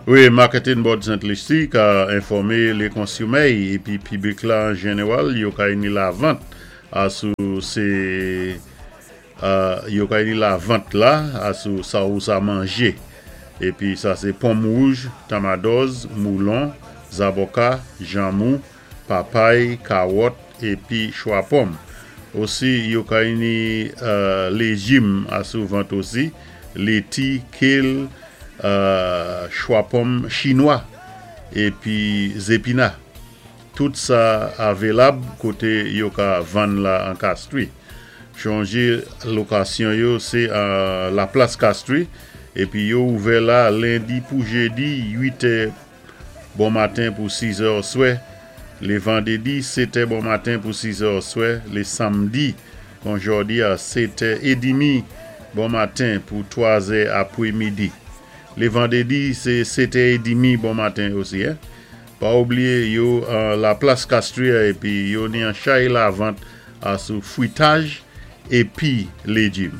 Wi, Marketing Board Saint Lucie ka enfòmé lé konsumè'y épi piblik la an jénéwal yo kay ni lavant asou sé yo kay ni lavant la asou sa ou sa manjé. Épi sa sé pòm wouj, tamadòz, moulon, zabòka, janmou, papay, kawòt épi chwa pòm. Osi yo kay ni léjim asou vant osi, léti, kale, chwa pòm chinwa épi zépina. Tout sa avelab koté yo ka vann la an Castries. Chonjé lokasyon yo sé an La Place Castries épi yo ouvè la lendi pou jédi 8 è bon maten pou 6 è oswè, lé vandédi 7 è bon maten pou 6 è oswè, lé samdi kon jòdi a 7 è édimi bon maten pou 3 zè apwé midi. Lé vandédi sé 7 è édimi bon maten osi. Pa oubliyé yo an La Place Castries épi yo ni an chay lavant asou fwitaj épi léjim.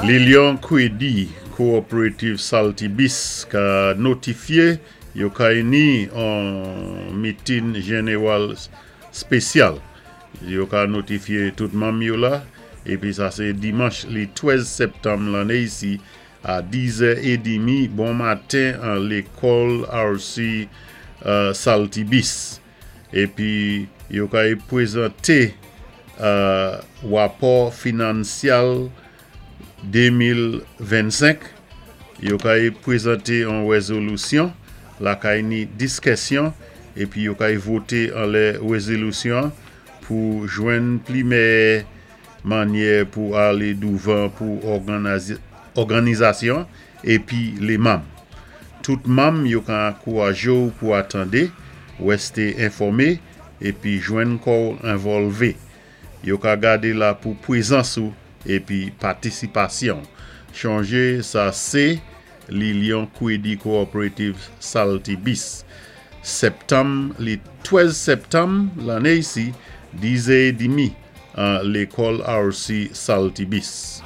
Lilion Kwédi Cooperative Saltibus ka notifyé yo kay ni an mitin jénéwal spésyal. Yo ka notifyé tout manm yo la épi sa sé dimanch li 13 sèptanm lanné isi a 10 è édimi bon maten an lékòl RC Saltibus. Épi yo kay pwézanté wapò finansyal 2025, yo kay pwézanté an wézolusyon, lakay ni diskèsyon épi yo kay voté anlè wézolusyon pou jwenn pli mèyè mannyè pou alé douvan pou òganizasyon épi lé manm. Tout manm yo ka ankourajé-w pou atandé, wèsté enfòmé épi jwenn kò'w envòlvé. Yo ka gadé la pou pwézans ou épi patisipasyon. Chonjé sa sé Lilion Kwédi Cooperative Saltibus. Sèptanm li 13 sèptanm lanné isi 10 è édimi an lékòl RC Saltibus.